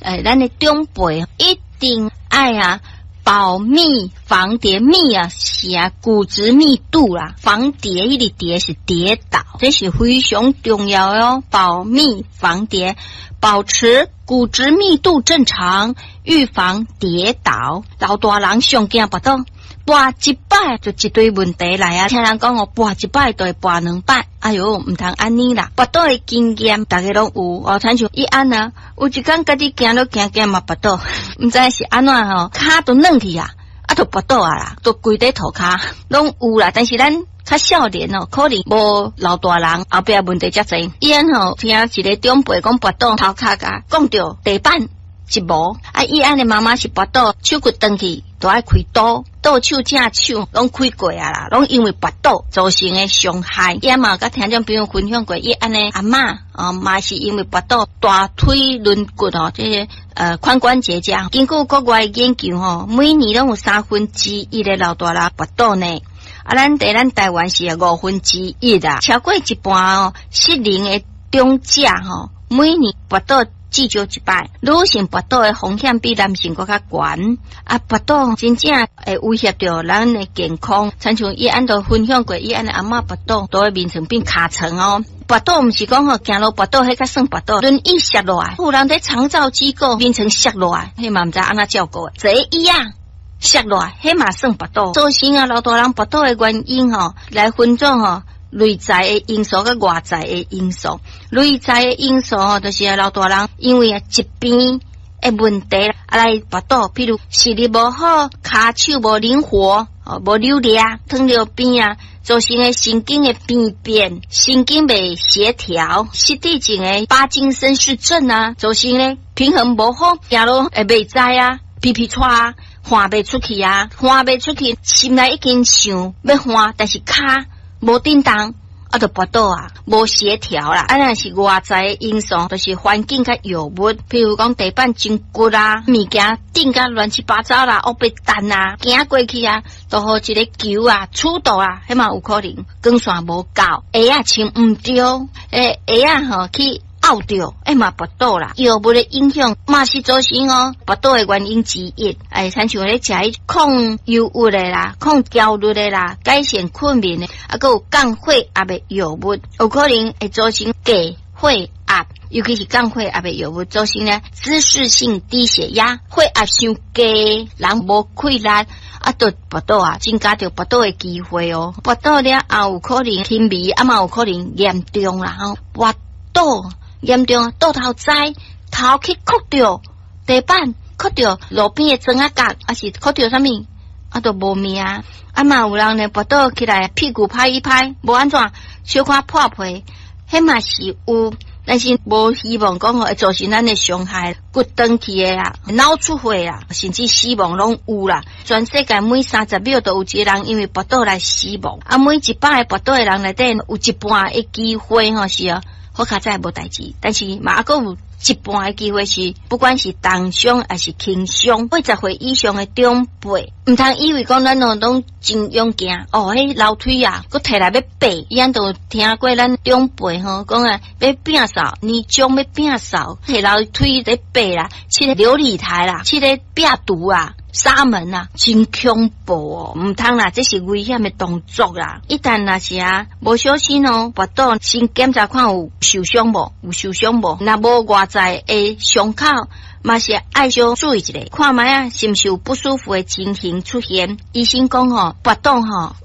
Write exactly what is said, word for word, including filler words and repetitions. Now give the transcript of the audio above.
欸，咱的長輩一定愛啊，保密防跌，密啊是啊骨質密度啦，防跌彼个跌是跌倒，這是非常重要的哦。保密防跌，保持骨質密度正常，預防跌倒。老大人上驚跋倒，跋一擺就一堆問題來啊！聽人講哦，跋一擺就會跋兩擺，哎喲，毋通按呢啦。跋倒的經驗，逐家攏有哦。親像伊按啊，有一工家己行路行行嘛跋倒，毋知是按怎吼，跤都軟去啊，啊，就跋倒啊啦，都規塊塗跤攏有啦。但是咱較少年哦，可能無老大人後壁問題遮濟。伊按吼聽一个長輩講跋倒頭殼共摃著地板一無，啊，伊按的媽媽是跋倒手骨斷去，都愛開刀，倒手正手攏開過啊啦，攏因為跋倒造成的傷害。伊嘛有佮聽眾朋友分享過，伊按的阿嬤哦，嘛是因為跋倒大腿軟骨哦，這個呃髖關節這。根據國外研究吼，每年攏有三分之一的老大人跋倒呢。啊，咱佇咱台灣是五分之一啊，超過一半哦，適齡的長者吼，每年跋倒至少一擺。女性跋倒的風險比男性閣較懸。啊，跋倒真正會威脅著咱的健康。親像伊按都分享過，伊按的阿嬤跋倒，都會眠床變尻床哦。跋倒毋是講吼行路跋倒，彼較算跋倒，輪椅摔落來，有人佇長照機構眠床摔落來，彼嘛毋知按怎照顧的，坐椅仔摔落來，彼嘛算跋倒。造成啊老大人跋倒的原因吼，來分做吼內在的因素佮外在的因素。內在的因素吼，就是老大人因為啊疾病的問題啊來跋倒，譬如視力無好、跤手無靈活、哦無扭力、糖尿病啊，造成的神經的病變、神經袂協調、失智症的巴金森氏症啊，造成的平衡無好，行路會袂知啊，皮皮挫啊，汗袂出去啊，汗袂出去，心內已經想欲汗，但是跤無振動，啊，就跋倒啊，無協調啦。啊，若是外在的因素，就是環境佮藥物，譬如講地板真骨啊，物件釘甲亂七八糟啦，烏白彈啊，行過去啊，都予一个球啊，觸到啊，彼嘛有可能光線無夠，鞋仔穿毋對，欸，鞋仔吼去拗著，欸嘛跋倒啦。藥物的影響嘛是造成哦跋倒的原因之一。欸，親像咧食彼抗憂鬱的啦，抗焦慮的啦，改善困眠的，啊，閣有降血壓的藥物，有可能會造成低血壓，尤其是降血壓的藥物造成呢姿勢性低血壓，血壓傷低，人無氣力。啊，就跋倒啊，增加著跋倒的機會哦。跋倒了後有可能輕微，啊嘛有可能嚴重啦吼。跋倒嚴重，倒頭栽，頭去磕著地板，磕著路邊的磚仔角，抑是磕著啥物，啊，就無命。啊嘛有人呢，跋倒起來屁股拍一拍，無按怎，小可破皮，彼嘛是有，但是無希望講會造成咱的傷害，骨斷去的啊，腦出血啊，甚至死亡攏有啦。全世界每三十秒都有一個人因為跋倒來死亡，啊，每一百个跋倒的人內底有一半的機會吼是啊，好佳哉無代誌，但是嘛閣有一半的機會是，不管是重傷抑是輕傷，八十歲以上的長輩，毋通以為講咱攏攏真勇健哦，彼樓梯啊，閣提來欲爬，伊按都聽過咱長輩吼講啊，欲摒掃，年終欲摒掃，提樓梯咧爬啦，試咧流理台啦，試咧壁櫥啊。紗門啊，真恐怖哦！毋通啦，這是危險的動作啦。一旦若是啊，無小心哦，跋倒，先檢查看有受傷無？有受傷無？若無外在的傷口，嘛是愛小注意一下，看覓啊，是毋是有不舒服的情形出現？醫生講吼，跋倒吼。